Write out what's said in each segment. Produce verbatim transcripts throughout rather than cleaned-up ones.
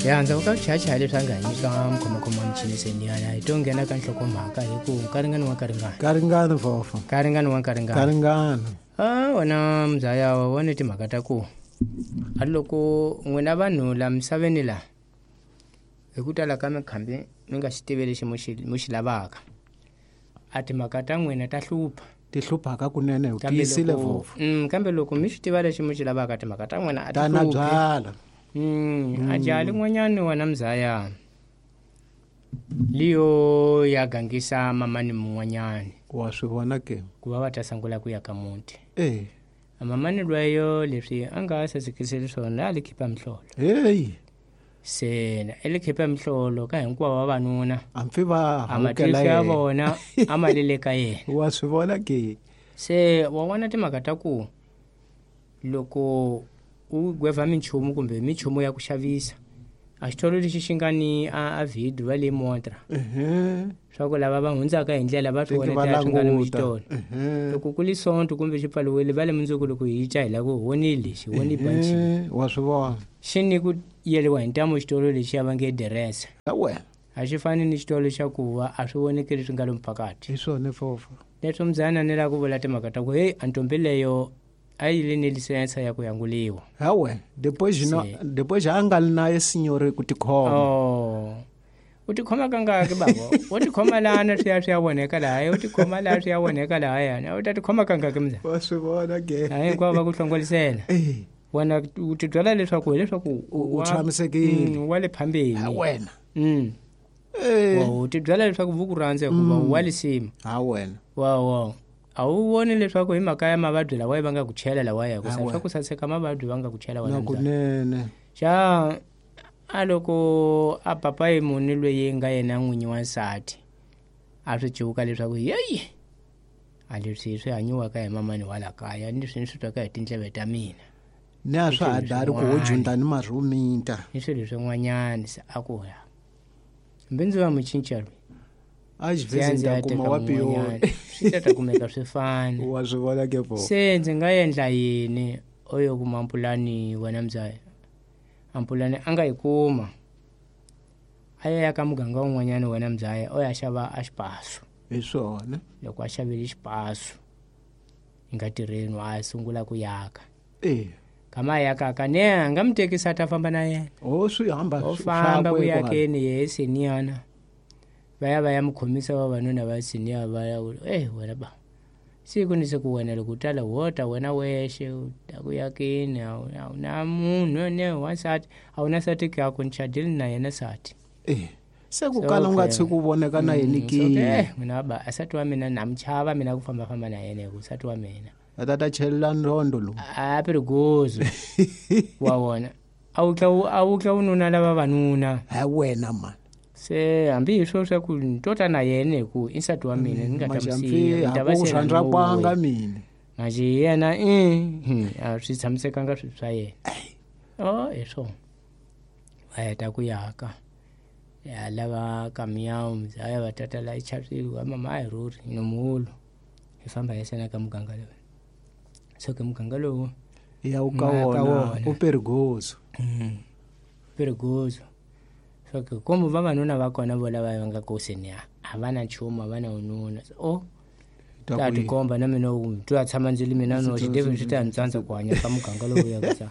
Ya ndzhaku ka vuchachaya leswi a nga hi nyika mukhomakhoma wa michini seniyana hi to nghena ka nhlokomhaka hi ku nkaringano wa nkaringano Karingana fofo. Nkaringano wa nkaringano. Karingana. A wena mzaya wa vone timhaka ta ku a loko n'wina vanhu la misaveni la hi ku tala ka mikhambi mi nga xi tivi lexi mu xi mu xi lavaka a timhaka ta n'wina ta hlupha Ti hluphaka kunene u kambe tiyisile loko fofo. mm, kambe loko mi swi tiva lexi mu xi lavaka timhaka ta n'wina a ti Ta na hluphi byala. Mm, a jaha lin'wanyani wena mzaya liyo ya gangisa mamani mun'wanyani Wa swi vona ke. ku va va ta sungula ku ya ka muti Eh. a mamani lweyo leswi a nga sasekiseli swona a li khipa mihlolo Hey, se i li khipa mihlolo ka hinkwavo vavanuna a mpfi va a hawukela matihlo ya yena. vona a ma le le ka yena Wa swi vona ke. se wa vona timhaka ta ku loko u gweva minchumu kumbe minchumu ya ku xavisa a xitolo lexi xi nga ni a, a video va le montra Ehe. swa ku lava va hundzaka hi ndlela va swi Teki va vonetela swi nga ni languta. xitolo Ehe. loko ku li sonto kumbe xi pfaliwile va le mundzuku loko hi tya hi lava ku vonile lexi voni banchi Ehe, Wa swi vona. xi ni ku yeliwa hi ntamu xitolo lexi ya va nge direse Ya wena. a xi fani ni xitolo xa ku va a swi voneki leswi nga lomu phakati Hi swona fofo. leswo mzana ni lava ku vula timhaka ta ku heyi a ntombi leyo a yi le ni lisensa ya ku yanguliwa Ya wena. Depois no Se. depois a nga li naye signore ku tikhoma. oh u tikhoma kangaki babo u tikhoma lana swi ya swi ya voneka lahaya u tikhoma laha swi ya voneka lahayana u ta tikhoma kangaki mzana Wa swi vona ke. a hinkwavo va ku hlongolisela Eh. wena u tibyela leswaku hileswaku U- u wa- tshamisekile. Mm, wa le phambeni Ya wena. Mm. Eh. Wa u tibyela leswaku vuku rhandza hikuva wa lisima Ha wena. wa wa a wu voni leswaku hi mhaka ya mavabyi lawa va nga ku chela lawaya ku Ah, sa we. swa ku saseka mavabyi va nga ku chela Na wena mzala. kunene. xa a loko a papayi muni loyi nga yena n'winyi wa nsati a swi civuka leswaku yeyi a leswi swi hanyiwaka hi mamani wa la kaya ni leswi ni swi twaka hi tindleve ta mina Ni a swa ha dari ku ho swin'wana. junta ni marhuminta. ni swilo swin'wanyana se a ku ya hambi ndzi va mucinca loyi A ndzi ya xivhezi ndzi ta ya kuma teka wa piyoni. mun'wanyana swi ta ta kumeka swi fana Wa swi vona ke fofo. se ndzi nga endla yini oyo kuma mpulani wena mzaya ampulani a nga yi kuma a ya ya ka muganga wun'wanyana wena mzaya o ya xava a xipasu Hi swona. loko a xavile xipasu yi nga tirheni a sungula ku yaka Eh. kama a yakaka ne a nga mi tekisa a ta famba na yena O swi hamba o swi- famba ku swakwe kwala. yakeni yehe seniyana va ya va ya mi khomisa vavanuna va seniya va ya ku eh wena ba siku ni siku wena loko u tala wo ta wena wexe u ta ku yakeni a wu a wu na munhu ne wansati a wu na nsati ku ku ni chadile na yena nsati Eh. Se ku So, kala u nga okay. tshiki u voneka na yini Mm, ke. so, okay, eh, mina ba a nsati wa mina na mi chava mina ku fambafamba na yena hi ku nsati wa mina A ta ta chelela ndondo lowu. a perigoso wa vona a wu tla u- a wu tla u nuna lava vanuna Ha wena man. se hambi hi swo swa ku ni to ta na yena hi ku i nsati wa mina ni nga ta mi Majampi siya ni ta va ha ku se na rhandza no kwanga we. mina. manje yena i hmm, a swi tshamisekanga swilo swa yena o hi swona va heta ku yaka ya lava kamiyawu mzaya va tata la ichavisiwa wa mama a hi rhurhi nomuwulo hi famba hi sena ka muganga lowu so ke muganga lowu Ya u ka Ma ka wona wona. u perigoso. Mm. perigoso so ke komu vavanuna va kona vo lava va nga koseni a a va na nchumu a va na ununa So, o Ta ta ku yi- tikomba na mina u twa tshama ndzi li mina noxe devil swi ta ni tsandza ku hanya ka muganga lowu ya ku sa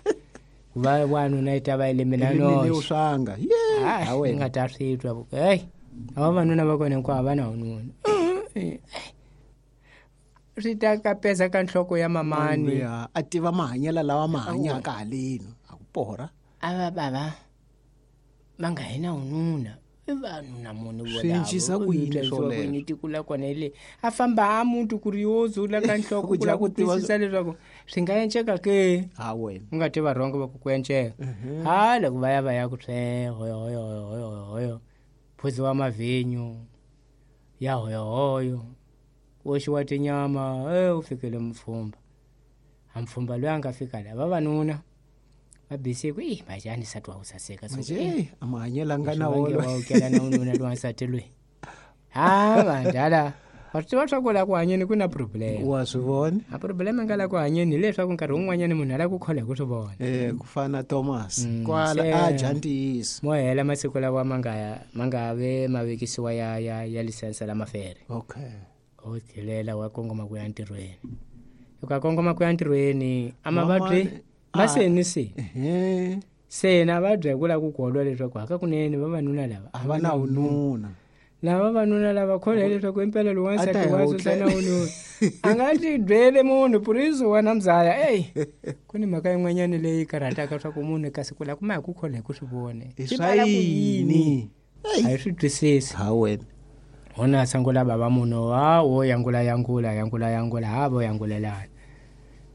ku va wanuna yi ta va yi le mina Rimile u noxe swanga. Ye. Hayi, Ha ni wena. nga ta swi twa ku heyi a vavanuna va kona hinkwavo a va na ununa swi ta kapesa ka nhloko ya mamani Ya, a tiva mahanyelo lawa ma hanyaka haleni. A ku porha. a va bava va nga hi na ununa i vanhu na munhu Swi cincisa ku yini swoleswo? yini tiko la kona hi le a famba a muti ku ri yo zula ka nhloko Ku ku lava dya ku ku tiva- twisisa leswaku swi nga enceka ke Ha wena. u nga tiva rhongo va ku ku enceka ha loko va ya va ya ku swe hoyo hoyo hoyo hoyo hoyo phuziwa mavhinyu ya hoyohoyo ku oxiwa tinyama e u fikele mupfhumba a mupfhumba loyi a nga fika la vavanuna va bisi ku i majani nsati wa ku saseka so, Manje eh, eh, a mahanyelo a nga na swi vange wona. wa wukela na ununa lowa nsati loyi ha vandala Wa swi tiva swa ku la ku hanyeni ku na problem. Wa swi vona? A problem nga la ku hanyeni hileswaku nkarhi wun'wanyana munhu a lava ku kholwa hi ku swi vona. Eh ku fana na Thomas Mm, kwala se- a dya ntiyiso. Mo hela masiku lawa ma nga ma nga ve ma vekisiwa ya ya ya lisense la mafere. Okay. O tlhelela wa kongoma ku ya ntirhweni. Loko a kongoma ku ya ntirhweni a mavabyi Mamani, ma a- se ni se. Ehe. Se na vabya hi ku lava ku kolwa leswaku hakakunene vavanuna lava A va na vununa. lava vavanuna lava kholwa hileswaku impela lowu A ta wansati hi wa wutla. susa na wununa a nga ti byele munhu puriso wa na mzaya eyi ku ni mhaka yin'wanyana leyi karhataka swa ku munhu kasi ku lava kuma hi ku kholwa hi ku swi vona I Swi swa pala ku yini yini? a hi swi twisisi Ha wena. hona a sungula bava munhu ha wo yangula yangula yangula yangula ha vo yangulelana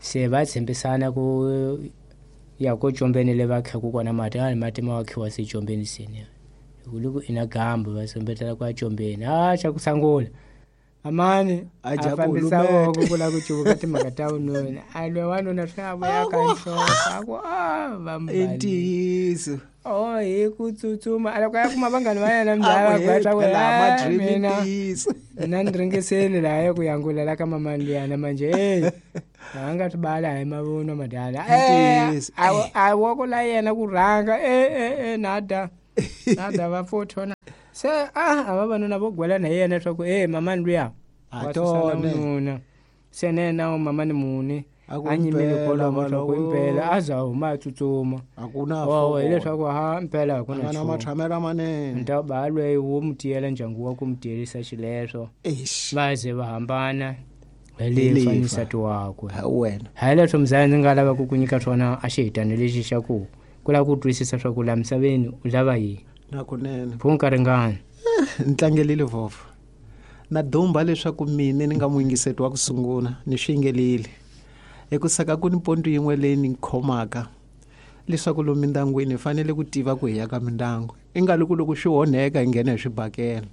se va tshembisana ku ya ko combeni le va khaku kona mati a mati ma wakhiwa se combeni seni loko ina gambu va sombetela ku ya combeni a xa ku sangula amani A dya a fambisa ku lumeka. voko ku lava ku cuvuka timhaka ta vununa a lwe wanuna swi a vuya ka nhloko a ku a I vambali ntiyiso. oh hi ku tsutsuma a loko a ya kuma vanghani va yena A mzaya ku va gwa swa ku phela "Ah, ma-dream i mina ntiyiso. mina ni ringeseni laha ya ku yangulela ka mamani luyana manje hey a nga swi bala hi mavunwa madala Eh, Ntiyiso. a a woko la yena ku rhanga e e e nada nada va fothona se a a vavanuna vo gwela na yena swa ku e mamani luya A wa susana tone. vununa se ne na mamani muni A ku a nyimile impela kwalomo swa ku valoko. impela a za huma a tsutsuma A ku na wawo fokolo. hileswaku ha impela a ku A na nga na nchumu matshamelo lamanene. nta ba lweyi wo mu tiyela ndyangu wa ku mu tiyelisa xileswo Eish. va ze va hambana hi Hi lefa lefa. ni nsati wakwe Ha wena. hayi leswo mzaya ndzi nga lava ku ku nyika swona a xihitano lexi xa ku ku lava ku twisisa swa ku laha misaveni u lava yini Na kunene. pfu nkaringana Ni tlangelile vhovho. Na dumba leswaku mina ni nga muyingiseti wa ku sungula ni swi yingelile. Ekusaka ku ni ponto yin'we leyi ni khomaka leswaku lomu mindyangwini hi fanele ku tiva ku hi ya ka mindyangu. I nga loko loko swi onheka hi nghena hi swibakela.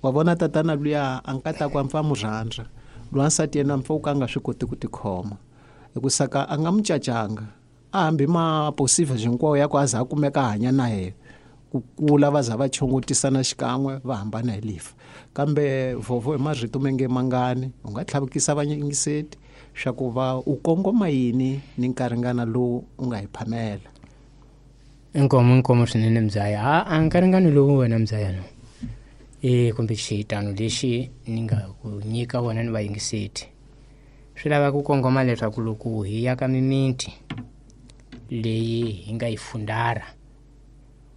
Wa vona tatana luya a nkataku a mpfa mu rhandza. Lwansati yena mpfa ka a nga swi koti ku tikhoma. Ekusaka a nga mu cacanga. A hambi ma posiva hinkwawo ya ku a za a kumeka a hanya na yena. Ku kula va za va chongotisana xikan'we va hambana hi lifa. Kambe vhovho hi marito me nge mangani u nga tlhavukisa vayingiseti swa ku va u kongoma yini ni nkaringana lowu u nga hi phamela. inkomo inkomo swinene mzaya ha a nkaringano lowu wena mzaya no e kumbe xihitano lexi ni nga ku nyika wona ni vayingiseti swi lava ku kongoma leswaku loko hi ya ka mimiti leyi hi nga yi fundara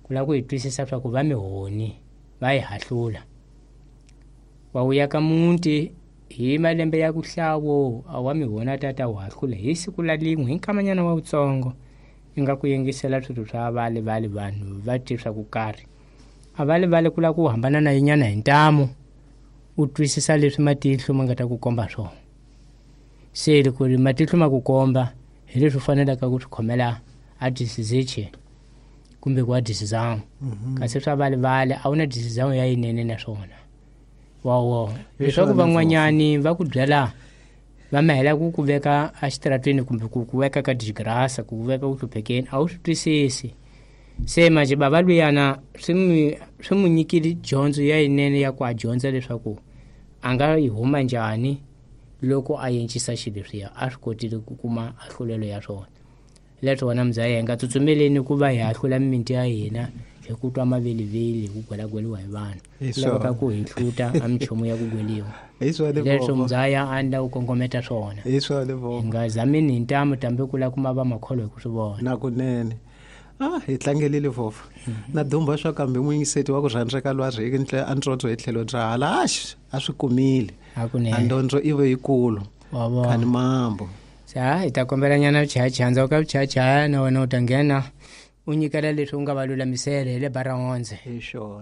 ku lava ku hi twisisa swa ku va mihoni va yi hahlula wa wu ya ka muti hi malembe ya ku hlawo a wa mihoni a tata wu hahlula hi siku la lin'we hi nkamanyana wa wutsongo i nga ku yingisela swilo swa vale vale vanhu va ti swa ku karhi a vale vale ku lava ku hambana na yinyana hi ntamu u twisisa leswi matihlo ma nga ta ku komba swona se loko ri matihlo ma ku komba hi leswi u faneleke ku swi khomela a disiziche kumbe ku a disizamu kasi swa vale vale a wu na disizamu ya yinene na swona wawo Hi leswaku swona van'wanyani va ku byela va mahela ku ku veka exitarateni kumbe ku ku veka ka digrasa ku ku veka ku hluphekeni a wu swi twisisi se manje bava luyana swi n'wi swi n'wi nyikile dyondzo ya yinene ya ku a dyondza leswaku a nga yi huma njhani loko a encisa xilo leswiya a swi kotile ku kuma ahlulelo ya swona leswo wona mzaya hi nga tsutsumeleni ku va hi hahlula mimiti ya hina hi ku twa maveliveli hi ku gwelagweliwa hi vanhu Hi Ku laveka swona. ku hi hluta a minchumu ya ku gweliwa Hi swona leswo vhovho. mzaya a ni lava ku kongometa swona Hi swona hi vhovho. nga zamini hi ntamu tambe ku lava kuma va makholwa hi ku swi vona Na kunene. Ah hi tlangelile vhovho. Na dumba swa kambe muyingiseti wa ku rhandzeka lwa ri ntle a ntsontsho hi tlhelo ra hala axi a swi kumile. hakunene A ndondzo i ve yikulu. wa vona Khani mambo. Se ha hi ta kombela nyana vuchayachaya ndzhaku ka vuchayachaya na wena u ta nghena u nyikela leswi u nga va lulamisela hi le bara hundze Hi xona.